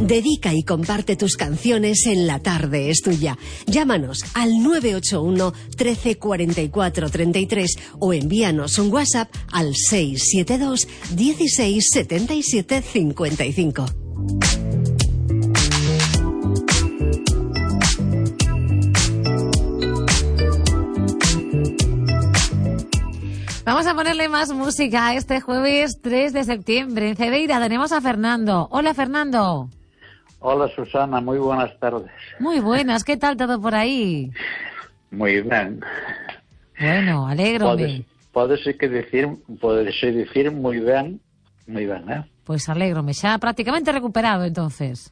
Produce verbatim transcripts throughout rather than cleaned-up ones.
Dedica y comparte tus canciones en La Tarde es Tuya. Llámanos al nueve ocho uno, trece, cuarenta y cuatro, treinta y tres o envíanos un WhatsApp al seis siete dos, dieciséis, setenta y siete, cincuenta y cinco. Vamos a ponerle más música este jueves tres de septiembre. En Cedeira tenemos a Fernando. Hola, Fernando. Hola, Susana. Muy buenas tardes. Muy buenas. ¿Qué tal todo por ahí? Muy bien. Bueno, alégrome. Podes que decir, podes decir muy bien, muy bien, ¿eh? Pues alégrome. Xa prácticamente recuperado, entonces.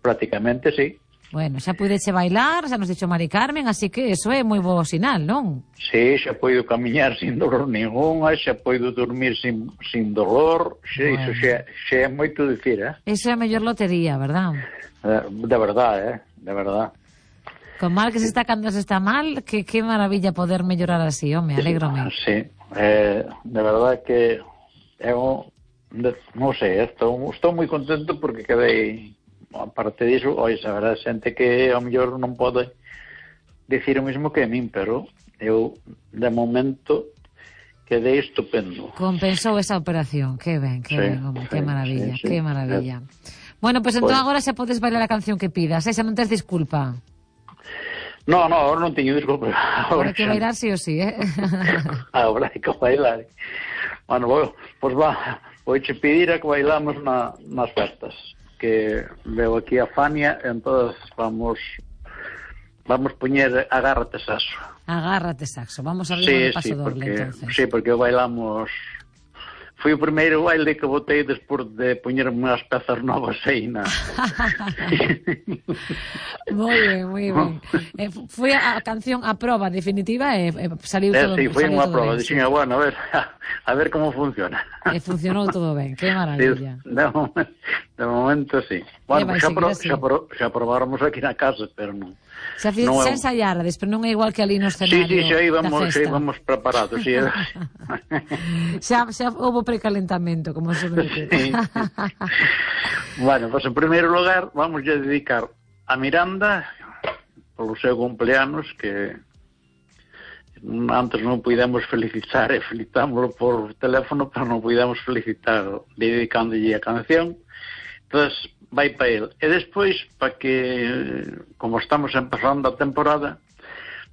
Prácticamente, sí. Bueno, xa puideche bailar, xa nos dixo Mari Carmen, así que eso é moi bo sinal, non? Sí, xa poido camiñar sin dolor ningún, xa poido dormir sin, sin dolor, xa, bueno. Iso xa, xa é moito dicir, eh? Iso é a mellor lotería, verdad? De verdade, eh? De verdade. Con mal que se está cando se está mal, que, que maravilla poder mellorar así, home, alégrome. Sí, eh, de verdade que eu, non sei, estou, estou moi contento porque quedei... Aparte disso, oi, a verdade, xente que ao mellor non pode dicir o mesmo que a min, pero eu, de momento, quedei estupendo. Compensou esa operación, que ben, que sí, ben, home, sí, que maravilla, sí, sí, que maravilla. Sí. Bueno, pois pues, entón pues... agora xa podes bailar a canción que pidas, esa non tes disculpa. No, no, agora non teño disculpa. Agora hai que bailar sí ou sí, eh? Agora hai que bailar. Bueno, pois pues va, vouche pedir a que bailamos na, nas festas. Que veo aquí a Fania, entonces vamos vamos poñer Agárrate Saxo. Agárrate Saxo, vamos a abrir sí, un paso sí, doble, porque, entonces. Sí, porque bailamos... Foi o primeiro baile que botei despois de poñerme unhas pezas novas aí na... Moi ben, moi ben. Eh, foi a canción a proba definitiva e eh, saliu eh, todo sí, ben. Sí, foi unha proba, sí. dixen, bueno, a ver, a ver como funciona. E funcionou todo ben, que maravilla. Sí, de, momento, de momento, sí. Bueno, xa, pro, xa, pro, xa probáramos aquí na casa, pero non. Xa, fiz, non xa ensaiarades, pero non é igual que ali no escenario. Sí, sí, xa íbamos, xa íbamos preparados, sí. xa, xa houve precalentamento, como se ve. Sí. Bueno, pues en primeiro lugar vamos a dedicar a Miranda polo seu cumpleanos, que antes non pudemos felicitar e felicitámoslo por teléfono, pero non pudemos felicitar dedicándolle a canción. Entonces vai para ele. E despois, para que, como estamos empezando a temporada,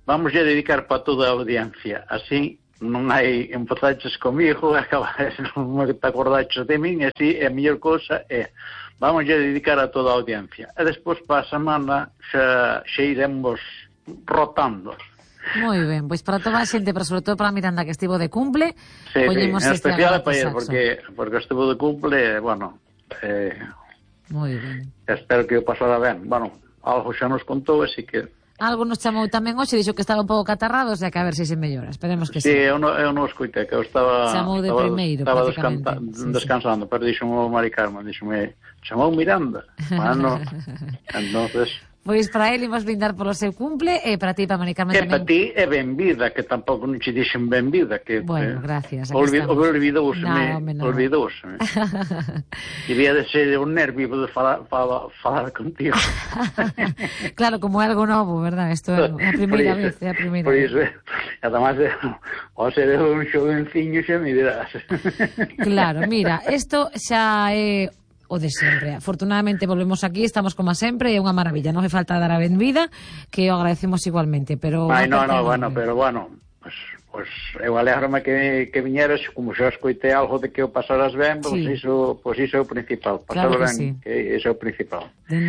vamos a dedicar para toda a audiencia. Así non hai empazaches comigo, non te acordaches de min, e así a mellor cousa é vamos a dedicar a toda a audiencia. E despois para a semana xa, xa iremos rotando. Moi ben, pois para toda a xente, pero sobre todo para Miranda que estivo de cumple, sí, poñemos sí, este especial Agárrate Saxo. Porque, porque estivo de cumple, bueno, eh, moi ben. Espero que o pasara ben. Bueno, algo xa nos contou, así que... Algo nos chamou tamén hoxe, dixo que estaba un pouco catarrado, o sea que a ver se se mellora, esperemos que sí. sí. Sí, eu non, eu non escoitei, que eu estaba... Chamou de estaba, primeiro, estaba prácticamente. Descanta, sí, descansando, sí. Pero dixo-me Mari Carmen, dixo-me, chamou Miranda. Bueno, entonces... Pois para ele imos brindar polo seu cumple e para ti, para Mari Carmen tamén. tamén. E para ti é benvida, que tampouco non che dixen benvida. Que, bueno, gracias. Olvid, olvidouseme, no, olvidouseme. Debía de ser un nervio de falar, falar, falar contigo. Claro, como é algo novo, verdad? Isto é a primeira vez, é a primeira por vez. Por iso, además, ao ser un xovenciño xa me dirás. Claro, mira, isto xa é o de sempre. Afortunadamente volvemos aquí, estamos como sempre, é unha maravilla, non fai falta dar a benvida, que o agradecemos igualmente, pero... Ai, no, no, bueno, pero bueno, pues, pues eu alégrome que, que viñeras, como xa escoitei algo de que o pasaras ben, pues, sí. iso, pues iso é o principal, pasar claro ben, sí. Que iso é o principal. Dende